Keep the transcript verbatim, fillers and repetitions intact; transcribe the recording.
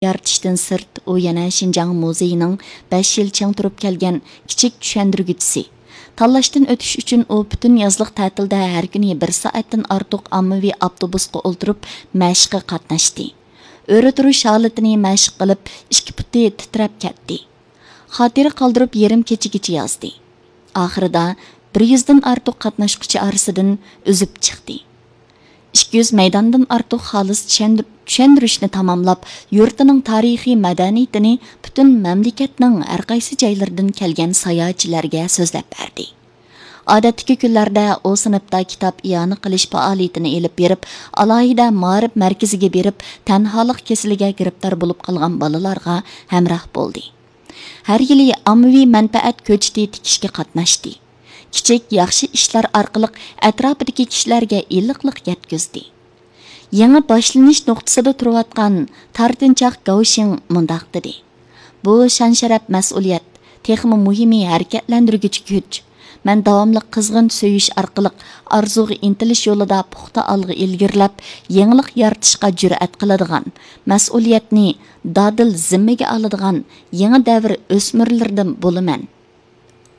يارىتىشتىن سىرت، ئۇ يەنە شىنجاڭ مۇزېيىنىڭ بەش يىل چىڭ تۇرۇپ كەلگەن كىچىك چۈشەندۈرگۈچىسى. تاللاشتىن ئۆتۈش ئۈچۈن ئۇ پۈتۈن يازلىق تەتىلدە ھەر كۈنى بىر سائەتتىن ئارتۇق ئاممىۋى ئاپتوبۇسقا ئولتۇرۇپ مەشىققە قاتناشتى. ئۆرە تۇرۇش ھالىتىنى مەشىق قىلىپ، ئىككى پۇتى تىترەپ كەتتى. خاتىرە قالدۇرۇپ يېرىم كېچىگىچە يازدى. ئاخىرىدا بىر يۈزدىن ئارتۇق قاتناشقۇچى ئارىسىدىن ئۈزۈپ چىقتى. ئىككى يۈز مەيداندىن ئارتۇق خالىس چۈشەندۈر-، چۈشەندۈرۈشنى تاماملاپ، يۇرتىنىڭ تارىخىي مەدەنىيىتىنى پۈتۈن مەملىكەتنىڭ ھەرقايسى جايلىرىدىن كەلگەن ساياھەتچىلەرگە سۆزلەپ بەردى. ئادەتتىكى كۈنلەردە ئۇ سىنىپتا كىتاب ئىئانە قىلىش پائالىيىتىنى ئېلىپ بېرىپ، ئالاھىدە مائارىپ مەركىزىگە بېرىپ، تەنھالىق كېسىلىگە گىرىپتار بولۇپ قالغان بالىلارغا ھەمراھ بولدى. ھەر يىلى ئاممىۋى مەنپەئەت كۆچىتى تىكىشكە قاتناشتى. كىچىك، ياخشى ئىشلار ئارقىلىق ئەتراپىدىكى كىشىلەرگە ئىللىقلىق يەتكۈزدى. يېڭى باشلىنىش نۇقتىسىدا تۇرۇۋاتقان تارتىنچاق گاۋشىڭ مۇنداق دېدى: «بۇ شان-شەرەپ، مەسئۇلىيەت، تېخىمۇ مۇھىمى ھەرىكەتلەندۈرگۈچى كۈچ. مەن داۋاملىق قىزغىن سۆيۈش ئارقىلىق ئارزۇغا ئىنتىلىش يولىدا پۇختا ئالغا ئىلگىرىلەپ، يېڭىلىق يارىتىشقا جۈرئەت قىلىدىغان، مەسئۇلىيەتنى دادىل زىممىگە ئالىدىغان يېڭى دەۋر ئۆسمۈرلىرىدىن بولىمەن.»